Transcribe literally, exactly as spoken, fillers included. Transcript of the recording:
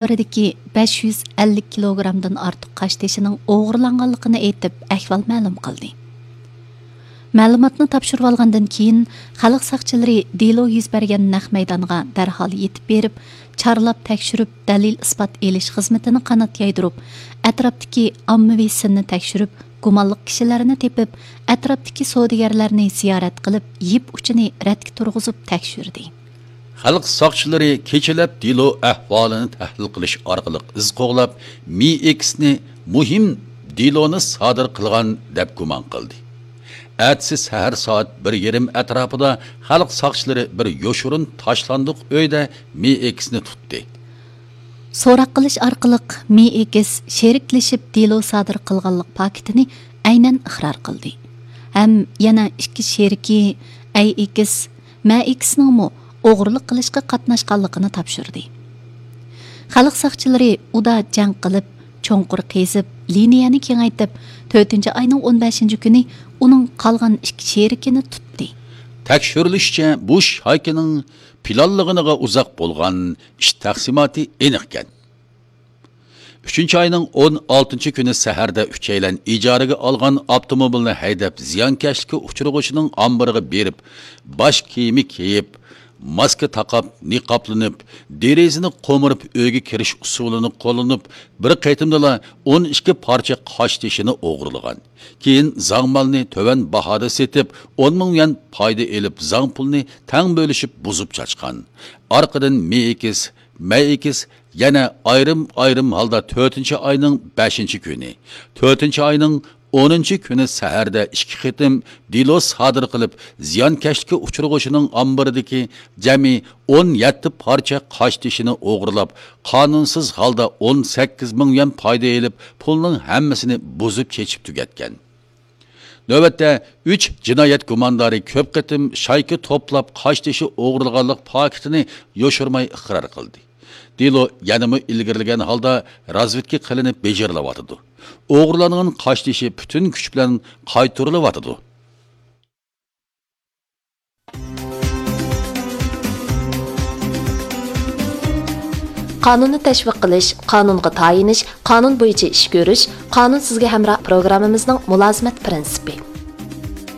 ئامبىرىدىكى بەش يۈز ئەللىك كىلوگرامدىن ئارتۇق قاشتېشىنىڭ ئوغرىلانغانلىقىنى ئېيتىپ، ئەھۋال مەلۇم قىلدى. مەلۇماتنى تاپشۇرۇۋالغاندىن كېيىن، خەلق ساقچىلىرى دېلو يۈز بەرگەن نەق مەيدانغا دەرھال يېتىپ بېرىپ، چارلاپ تەكشۈرۈپ، دەلىل-ئىسپات ئېلىش خىزمىتىنى قانات يايدۇرۇپ، ئەتراپتىكى ئاممىۋى سىننى تەكشۈرۈپ، گۇمانلىق كىشىلەرنى تېپىپ، ئەتراپتىكى سودىگەرلەرنى زىيارەت قىلىپ، يىپ ئۇچىنى رەتكە تۇرغۇزۇپ تەكشۈردى. خەلق ساقچىلىرى كېچىلەپ دېلو ئەھۋالىنى تەھلىل قىلىش ئارقىلىق ئىز قوغلاپ، مېي ئېكسنى مۇھىم دېلونى سادىر قىلغان دەپ گۇمان قىلدى. ئەتىسى سەھەر سائەت بىر يېرىم ئەتراپىدا خەلق ساقچىلىرى بىر يوشۇرۇن تاشلاندۇق ئۆيدە مېي ئېكسنى تۇتتى. سوراق قىلىش ئارقىلىق مېي ئېكس شېرىكلىشىپ دېلو سادىر قىلغانلىق پاكىتىنى ئەينەن ئىقرار قىلدى ھەم يەنە ئىككى شېرىكى ئەي ئېكس، مە ئېكسنىڭمۇ ئوغرىلىق قىلىشقا قاتناشقانلىقىنى تاپشۇردى. خەلق ساقچىلىرى ئۇدا جەڭ قىلىپ، چوڭقۇر قېزىپ، لىنىيەنى كېڭەيتىپ، تۆتىنچى ئاينىڭ ئون بەشىنچى كۈنى ئۇنىڭ قالغان ئىككى شېرىكىنى تۇتتى. تەكشۈرۈلۈشىچە، بۇ شايكىنىڭ پىلانلىغىنىغا ئۇزاق بولغان، ئىش تەقسىماتى ئېنىقكەن. ئۈچىنچى ئاينىڭ ئون ئالتىنچى كۈنى سەھەردە ئۈچەيلەن ئىجارىگە ئالغان ئاپتوموبىلنى ھەيدەپ، زىيانكەشلىككە ئۇچرىغۇچىنىڭ ئامبىرىغا بېرىپ، باش كىيىمى كىيىپ، ماسكا تاقاپ، نىقابلىنىپ، دېرىزىنى قومۇرۇپ، ئۆيگە كىرىش ئۇسۇلىنى قوللىنىپ، بىر قېتىمدىلا ئون ئىككى پارچە قاشتېشىنى ئوغرىلىغان. كېيىن زاڭ مالنى تۆۋەن باھادا سېتىپ، ئون مىڭ يۈەن پايدا ئېلىپ، زاڭ پۇلنى تەڭ بۆلۈشۈپ، بۇزۇپ چاچقان. ئارقىدىن مېي ئېكس، مەي ئېكس يەنە ئايرىم-ئايرىم ھالدا تۆتىنچى ئاينىڭ بەشىنچى كۈنى، تۆتىنچى ئاينىڭ ئونىنچى كۈنى سەھەردە ئىككى قېتىم دېلو سادىر قىلىپ، زىيانكەشلىككە ئۇچرىغۇچىنىڭ ئامبىرىدىكى جەمئىي ئون يەتتە پارچە قاشتېشىنى ئوغرىلاپ، قانۇنسىز ھالدا ئون سەككىز مىڭ يۈەن پايدا ئېلىپ، پۇلنىڭ ھەممىسىنى بۇزۇپ چېچىپ تۈگەتكەن. نۆۋەتتە ئۈچ جىنايەت گۇماندارى كۆپ قېتىم شايكا توپلاپ، قاشتېشى ئوغرىلىغانلىق پاكىتىنى يوشۇرماي ئىقرار قىلدى. دېلو يەنىمۇ ئىلگىرىلىگەن ھالدا رازۋېدكا قىلىنىپ بېجىرىلىۋاتىدۇ. ئوغرىلانغان قاشتېشى پۈتۈن كۈچ بىلەن قايتۇرۇلۇۋاتىدۇ. قانۇننى تەشۋىق قىلىش، قانۇنغا تايىنىش، قانۇن بويىچە ئىش كۆرۈش، قانۇن سىزگە ھەمراھ پروگراممىمىزنىڭ مۇلازىمەت پىرىنسىپى.